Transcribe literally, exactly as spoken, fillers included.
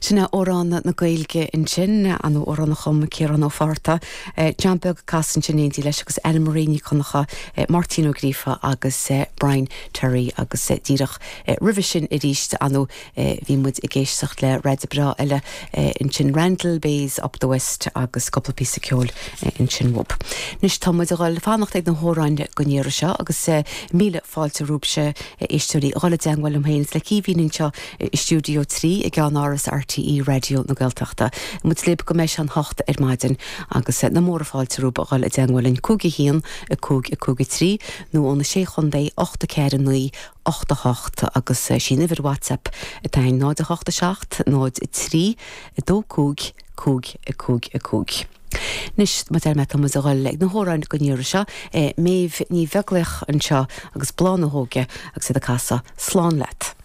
Sin é Amhrán na Gaeilge ansin an amhrán a chum Ciarán Ó Fátharta John Beag ag casadh ansin in éindí leis agus Anna Marie Ní Chonchú Máirtín Ó Gríofa agus Brian Terry agus díreach roimhe sin arís anu bhí muid ag éisteacht le raid breá eile ansin Randall Bayes up the West agus cúpla píosa ceoil ansin uaidh. Anois tá muid ag dul fanacht ag na hamhráin don iarraidh seo agus míle fáilte romhaibhse éisteoirí dhul i dteagmháil liom féin le Caoimhín anseo i stiúideo trí i gceannáras RTÉ Raidió na Gaeltachta. Muid libh go mbeidh sé an hocht ar maidin agus na móra fáilte romhaibh dhul i dteagmháil linn cúig a haon a cúig a cúig a trí nó ó na sé chontae ocht a ceathair a naoi ocht a hocht agus sin uimhir WhatsApp atá in náid a hocht a seacht náid a trí a dó cúig cúig a cúig a cúig. Anois mar a deir mé tá muid ag dul ag na hamhráin don iarraidh seo Méabh Ní Bheaglaoich anseo agus Bláth na hÓige agus iad ag casadh slán leat.